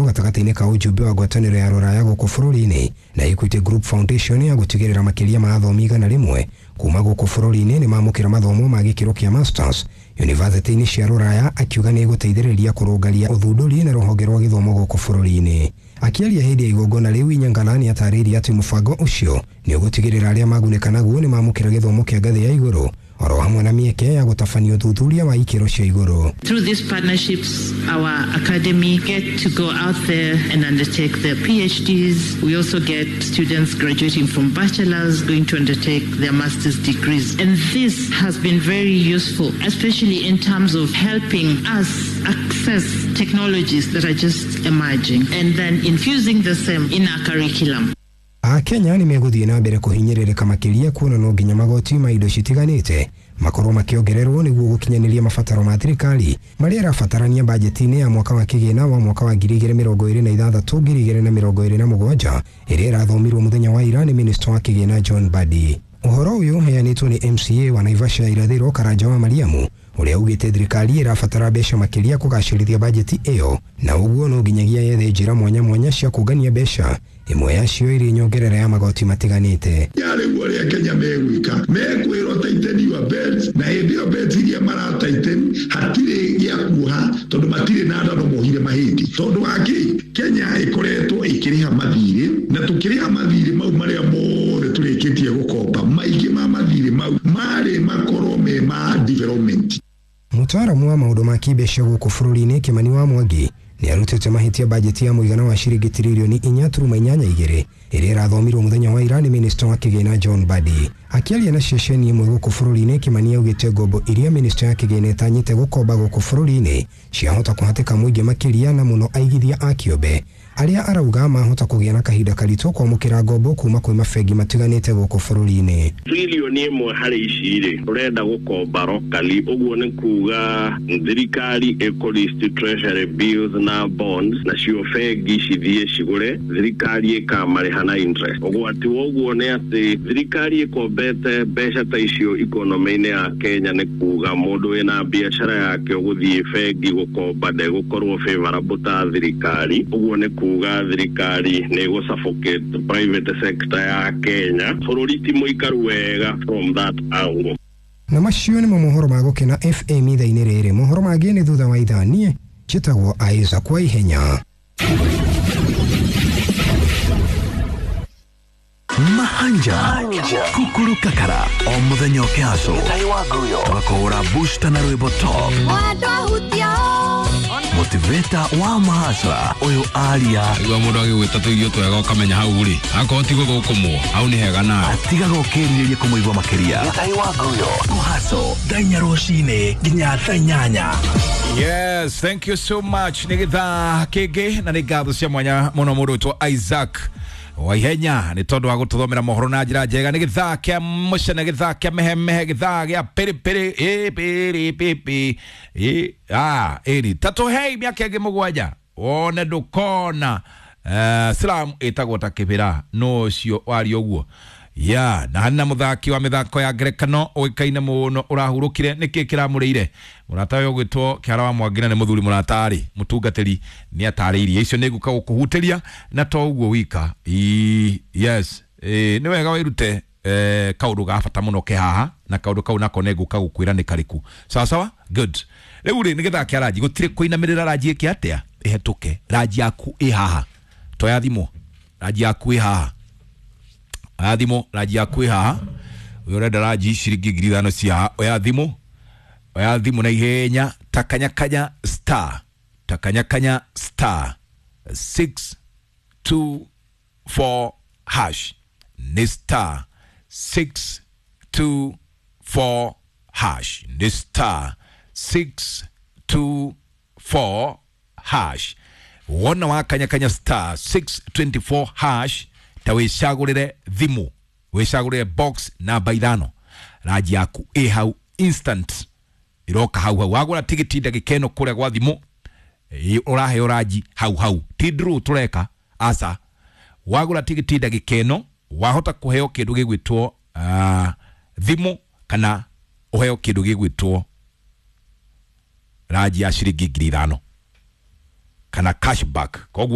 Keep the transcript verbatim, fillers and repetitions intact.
Gatagatĩ-inĩ ka ujumbe wa ngwatanĩro ya rũraya gũkũ bũrũri-inĩ na Equity Group Foundation ya gũtigĩrĩra makĩria ma athomi igana rĩmwe kuma gũkũ bũrũri-inĩ nĩ mamũkĩra mathomo ma gĩkĩro kĩa masters yunivasĩtĩ-inĩ cia rũraya, akiuga nĩ ĩgũteithĩrĩria kũrũngaria ũthundũri na rũhonge rwa gĩthomo gũkũ bũrũri-inĩ. Akĩaria hĩndĩ ya igongona rĩu, Inyangala nĩ atarĩirie atĩ mũbango ũcio nĩ ũgũtigĩrĩra arĩa magunĩka naguo nĩ mamũkĩra gĩthomo kĩa ngathĩ ya igũrũ oro hamwe na mĩeke ya gũtabania ũthuthuria wa ikĩro cia igũrũ. Through these partnerships, our academy get to go out there and undertake their P H Ds. We also get students graduating from bachelors going to undertake their master's degrees. And this has been very useful, especially in terms of helping us access technologies that are just emerging and then infusing the same in our curriculum. Akenya nĩ megũthiĩ na mbere kũhinyĩrĩrĩka makĩria kuona no nginya magoti ma indo citiganĩte makorwo makĩongererwo nĩguo gũkinyanĩria mabataro ma thirikari marĩa ĩrabatarania bajeti-inĩ ya mwaka wa kĩgĩna wa mwaka wa ngiri igĩrĩ mĩrongo ĩrĩ na ithathatũ ngiri igĩrĩ na mĩrongo ĩrĩ na mũgwanja, ĩrĩa ĩrathomirwo mũthenya wa ira nĩ minista wa kĩgĩna John Mbadi. Ũhoro ũyũ ũheanĩtwo nĩ M C A wa Naivasha ya irathĩro Karanja wa Mariamu, ũrĩa ugĩte thirikari ĩrabatara mbeca makĩria kũgacĩrithia bajeti ĩyo, na ũguo no nginyagia yethe njĩra mwanya mwanya cia kũngania mbeca, ĩmwe yacio ĩrĩ nyongerera ya magoti matiganĩte. Rĩu ũrĩa Kenya megwĩka, mekwĩrwo tighten your belts, na hĩndĩ ĩyo belts iria mara tighten hatirĩ gĩa kuoha, tondũ matirĩ na nda no mohire mahĩndĩ. Tondũ wa kĩ? Kenya ĩkoretwo ĩkĩrĩha mathirĩ, na tũkĩrĩha mathirĩ mau marĩa mothe tũrĩkĩtie gũkomba, maingĩ ma mathirĩ mau marĩ makorwo me ma development. Mũtaaramu wa maũndũ ma kĩmbeca gũkũ bũrũri-inĩ Kimani wa Mwangi nĩ arutĩte mahĩtia bajeti ya mũigana wa ciringi tiririoni inya turuma inyanya igĩrĩ ĩrĩa ĩrathomirwo mũthenya wa ira nĩ minista wa kĩgĩna John Mbadi. Akĩaria na ceceni ĩmwe gũkũ bũrũri-inĩ, Kimani augĩte ngombo iria minista ya kĩgĩna ĩtanyĩte gũkomba gũkũ bũrũri-inĩ ciahota kũhatĩka mũingĩ makĩria, na mũno aigithia a kĩũmbe arĩa arauga mahota kũgĩa na kahinda karitũ kwamũkĩra ngombo kuma kwĩ mabengi matiganĩte gũkũ bũrũri-inĩ. Trilioni ĩmwe harĩ ici rĩ, ũrenda gũkomba locally, ũguo nĩ kuga thirikari ĩkũ treasury bills na bonds, nacio bengi cithiĩ cigũre, thirikari ĩkamarĩha na interest. Ũgwati wa ũguo nĩ atĩ thirikari ĩkombete mbeca ta icio ikonomĩ-inĩ ya Kenya, nĩ kuga mũndũ wĩna biacara yake ũgũthiĩ bengi gũkomba ndegũkorwo favorable ta thirikari. Ũguo nĩ kuga thirikari nĩ ĩgũ suffocate private sector ya Kenya. Bũrũri ti mũikaru wega from that angle. Na macio nĩmo mohoro ma Gũkena F M ithaa-inĩ rĩrĩ. Mohoro mangĩ nĩ thutha wa ithaa. Niĩ njĩtagwo Isaac wa Ihenya. Mahanja Kukuru Kakara o muthenya ũkĩhacwo twakũhũra booster na rwĩmbo top motivator wa mahasra ũyũ aria. Igua mũndũ agĩgwĩta tũirio twega ũkamenya hau rĩ, akorwo ti gũthũkũmwo hau nĩ hega nawe. Atigaga ũkĩrirĩria kũmũigua makĩria. Kũhaco thaa inya rũcinĩ nginya thaa inyanya. Yes, thank you so much. Nĩ gĩthaa kĩngĩ na nĩ ngatho cia mwanya mũno mũndũ wĩtwo Isaac Waihenya nĩ tondũ wa gũtũthomera mohoro na njĩra njega. Nĩ gĩthaa kĩa mũcene, gĩthaa kĩa mehemehe, gĩthaa gĩa pĩrĩpĩrĩ ĩ pĩrĩ pĩpĩ ĩ ah ĩni tatũhei mĩaka ĩngĩ mũgwanja wone ndũkona. uh, slam ĩtagwo ta kĩbĩra no ũcio waria ũguo ya na harĩ na mũthaki wa mĩthako ya ngerekano ũĩkaine mũno ũrahurũkire. Nĩkĩ kĩramũrĩire mũrata ũyũ ũgwĩtwo Kĩara wa Mwangi, na nĩ mũthuri mũratarĩ mũtungatĩri, nĩ atarĩirie icio nĩ ngũka gũkũhutĩria. Na to ũguo wika. Ii, yes, ĩ, nĩ wega wĩrute eh, kaũndũ ga bata mũno ke haha, na kaũndũ kau nako nĩ ngũka gũkwĩra nĩ karĩku. Sawa sawa, good. Rĩu rĩ, nĩ gĩthaa kĩa ranji, gũtirĩ kũinamĩrĩra ranji ĩke atĩa ĩhetũke. Ranji yaku ĩ haha, toya thimũ, ranji yaku ĩ haha, oya thimũ, ranji yaku ĩ haha. Ũyũ ũrenda ranji ciringi ngiri ithano cia haha, oya thimũ, oya thimũ na ihenya. Takanyakanya star, takanyakanya star six two four hash, nĩ star six two four hash, nĩ star six two four hash. Wona wakanyakanya star six twenty-four hash, ta wĩcagũrĩre thimũ, wĩcagũrĩre box namba ithano, ranji yaku ĩ hau instant, iroka hau hau. Wagũra tigiti ndagĩka ĩno kũrĩa gwa thimũ, ĩ, ũraheo ranji hau hau. Ti draw tũreka, aca. Wagũra tigiti ndagĩka ĩno wahota kũheo kĩndũ gĩgwĩtwo uh, thimũ kana ũheo kĩndũ gĩgwĩtwo ranji ya ciringi ngiri ithano. Kana cashback. Koguo